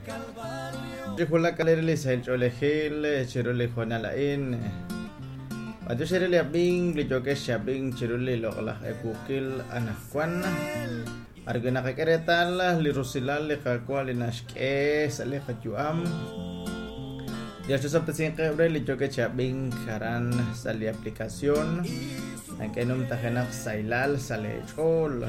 Chi wulak li sahil ch'oolejil chiru li hoonal a'in. B'antiox re li ab'ink li yookex chi ab'ink chiru li loq'laj ewuukil anaqwan. B'ar wi' naqak'e reetal li rusilal li Qaawa' li naxk'e sa' li qayu'am. Dios chisob'tesinqeb' re li yookex chi ab'ink aran sa' li aplicación. Nak'e numtajenaq sahilal sa' lee ch'ool.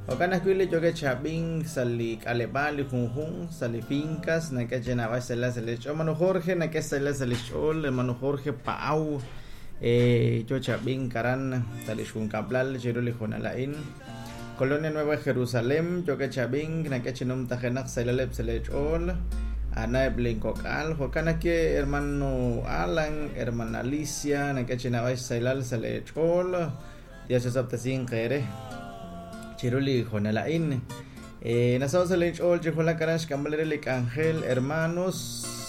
Jo'kan ajwi' li yookex chi ab'ink sa' li k'aleb'aal li junjunq sa' li fincas nak'e chi naab'al xsahilal sa' li ch'ool. Hermano Jorge nak'e xsahilal sa' li xch'ool. Hermano Jorge Pa'aw yo chi ab'ink aran sa' li xjunkab'lal chiru li hoonal a'in. Colonia Nueva Jerusalén yookeb' chi ab'ink nak'e chi numtajenaq xsahilaleb' sa' lee ch'ool. A'aneb' linkok'al. Jo'kan ajwi' hermano Alan, hermana Alicia nak'e chi naab'al xsahilal sa' lee ch'ool. Dios chisob'tesinq eere chiru li hoonal a'in. Nasaho' sa' linch'ool chi wulak aran xk'amb'al re li k'anjel hermanos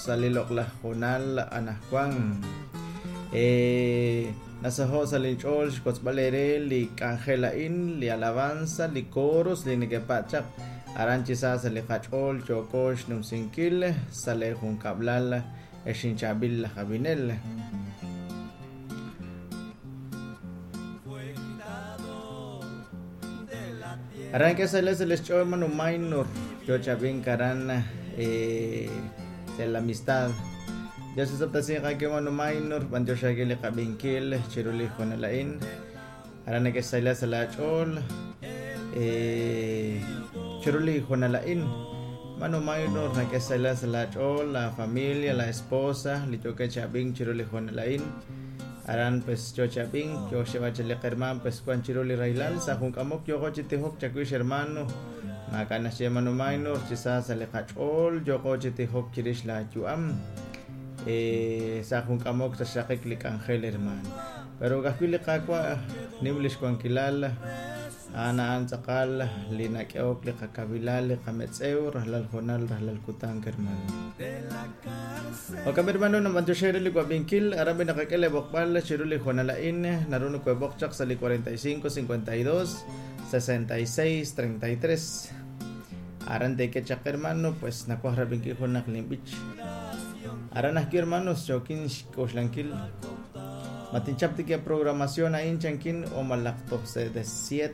sa' li loq'laj hoonal anaqwan. Nasaho' sa' linch'ool xwotzb'al eere li k'anjel a'in, li alabanza, li coros li neke'patz' chaq aran chi sa sa' li qach'ool yooko xnumsinkil sa' lee junkab'lal ex inchaab'il laj ab'inel. Aran k'e sa' li xch'ool Manu Minor yo chi ab'ink aran sa' la amistad. Dios chisob'tesinq aawe Manu Minor, b'antiox aawe li qab'inkil chiru li hoonal a'in. Aran neke'xsahila sa' laach'ool chiru li hoonal a'in. Manu Minor neke'xsahila sa' laach'ool, la familia, la esposa, li yookeb' chi ab'ink chiru li hoonal a'in. Aran pues yo chi ab'ink, yo xyeeb'al chi li qhermaan pues wan chiru li rahilal sa' jun k'amok yooqo chi tijok chawix hermano. Maak'a' naxye Manu Minor chi sa sa' li qach'ool yooqo chi tijok chirix laayu'am. Sa' jun k'amok sa' xraqik li k'anjel hermano. Pero ka'ajwi' li Qaawa' nim li xwankilal a'an a'an tz'aqal li nak'ehok li qakawilal li qametz'ew rajlal hoonal rajlal kutan hermano. Jo'kan hermano nab'antioxi re li wab'inkil aran b'i naqak'e li b'oqb'al chiru li hoonal a'in naru nokoheb'oq chaq sa' li 45 52 66 33 aran teek'e chaq hermano pues nawaj rab'inkil junaq linb'ich aran ajwi' hermanos yookin xk'oxlankil ma tinchap tik programación a'in chankin o malaj toj se de 7.